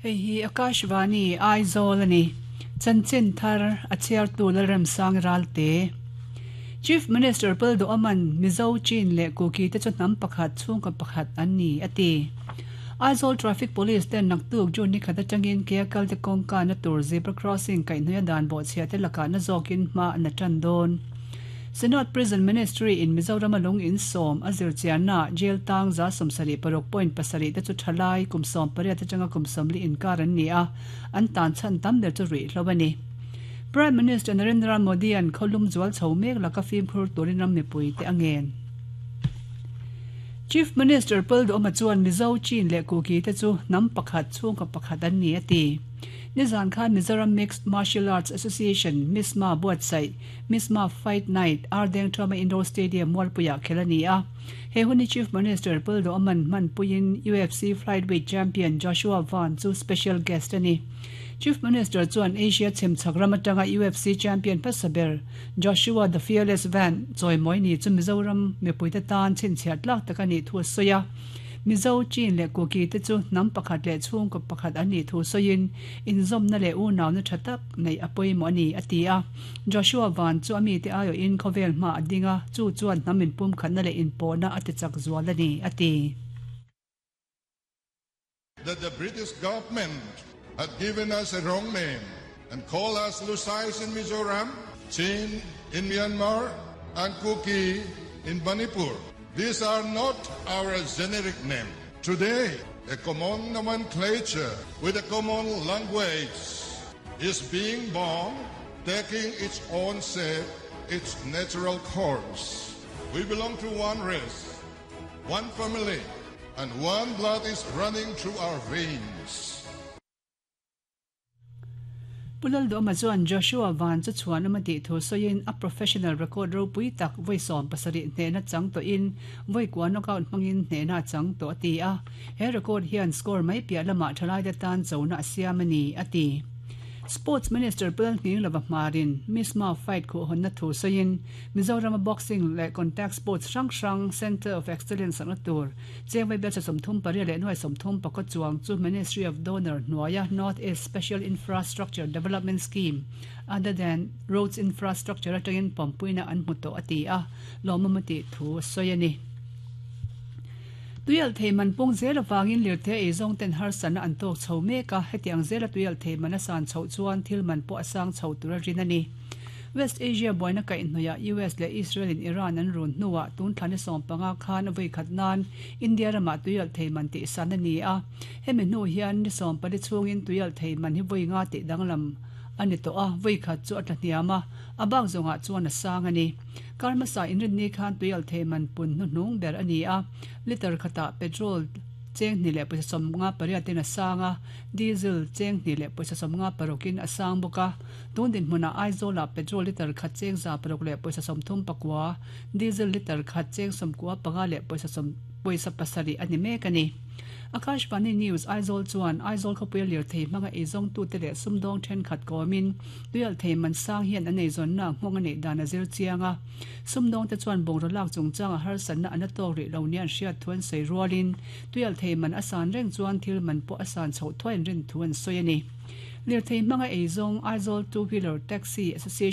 Hei hi Akashvani, Aizawl a ni. Chanchin thar a chhiartu Lalremsang Ralte. Chief Minister Pal Duaman Mizo, Chin leh Kuki te chu hnam pakhat, chhungkaw pakhat an ni, a ti. Aizawl Traffic Police ten naktuk June ni khat atangin ke a kalte kawngka na tur zebra crossing kaihhnawih a dan bawhchhiah te lakah na zawkin hma an la tan dawn. Synod Prison Ministry in Mizoram a lung in sawm a zir chianna jail tang 76 point pasarih te chu thalai kum 18 atanga kum 40 inkar an ni a, an tan chhan tam ber chu ruihhlo a ni. Prime Minister Narendra Modi an khawlum zual chho mek laka fimkhur turin ram mipui te a ngen. Chief Minister Paul Duhoma chuan Mizo, Chin leh Kuki te chu hnam pakhat, chhungkaw pakhat an ni a ti. Nizan khan Mizoram Mixed Martial Arts Association, MISMA, buatsaih MISMA Fight Night, Ardeng Thoma Indoor Stadium Mualpuiah khelh a ni a. He hun hi Chief Minister Paul Duhman hmanpuiin UFC Flyweight Champion Joshua Van chu special guest a ni. Chief Minister chuan Asia chhimchhak ram atanga UFC champion hmasa ber Joshua The Fearless Van chawimawi ni chu Mizoram mipuite tan chhinchhiah tlak tak a nih thu a sawi a. Mizo, Chin leh Kuki te chu hnam pakhat leh chhungkaw pakhat an nih thu sawiin inzawmna leh unauna tha tak neih a pawimawh a ni, a ti a. Joshua Van chu a mite aiawhin khawvel hma a ding a, chu chuan hnam inpumkhatna leh inpawhna a tichak zual a ni, a ti. That the British government had given us a wrong name and called us Lusais in Mizoram, Chin in Myanmar and Kuki in Manipur. These are not our generic name. Today, a common nomenclature with a common language is being born, taking its own shape, its natural course. We belong to one race, one family, and one blood is running through our veins. Pu Lalduhama chuan Joshua Van chu chhuan awm a tih thu sawiin a professional record ropui tak vawi 70 hnehna chang tawhin vawi kua knockout hmangin hnehna a chang tawh a ti a. He record hian score mai piah lamah thalaite tan chona a siam a ni, a ti. Sports Minister Pu Lalnghinglova hmarin Misma fight khuhhawnna thu sawiin Mizorama boxing leh contact sports hrang hrang Centre of Excellence sakna tur Chengvei bialcha 38 leh nuai 30 pakaw chuang chu Ministry of Donor hnuaia North East Special Infrastructure Development Scheme other than Roads Infrastructure atangin pawmpuina an hmu tawh a ti a, lawmawm a tih thu a sawi a ni. Tuialhthei man pung zel avangin lirthei eizawng ten harsatna an tawk chho mek a, hetiang zela tuialhthei man a san chhoh chuan thil man pawh a sang chho tur a rin a ni. West Asia buaina kaihhnawihah US leh Israel in Iran an run hnuah tun thla ni 15 khan a vawi khat nan India ramah tuialhthei man tihsan a ni a, hemi hnu hian ni 14 chhungin tuialhthei man hi vawi nga tih danglam a ni tawh a, vawi khat chu a tla hniam a, a bak zawngah chuan a sang a ni. Kar hmasa inrinni khan tuialhthei man pun hnuhnung ber a ni a, litre khatah petrol cheng hnih leh pawisa 58 in a sang a, diesel cheng hnih leh pawisa 56 in a sang bawk a. Tun dinhmunah Aizawlah petrol litre khat cheng 600 leh pawisa 39, diesel litre khat cheng 95 leh pawisa pawisa pasarih a ni mek a ni. Akashvani News Aizawl chuan Aizawl khawpuia lirthei hmanga eizawngtute leh sumdawng thenkhat kawmin Tuialhthei man sang hian an eizawnna nghawng a neih dan a zir chiang a. Sumdawngte chuan bungraw lak chungchanga harsatna an la tawk rih lo nia an hriat thu an sawi rualin tuialhthei man a san reng chuan thil man pawh a san chhoh thuai an rin thu an sawi a ni. Lirthei hmanga eizawng Aizawl Two Wheeler Taxi Association.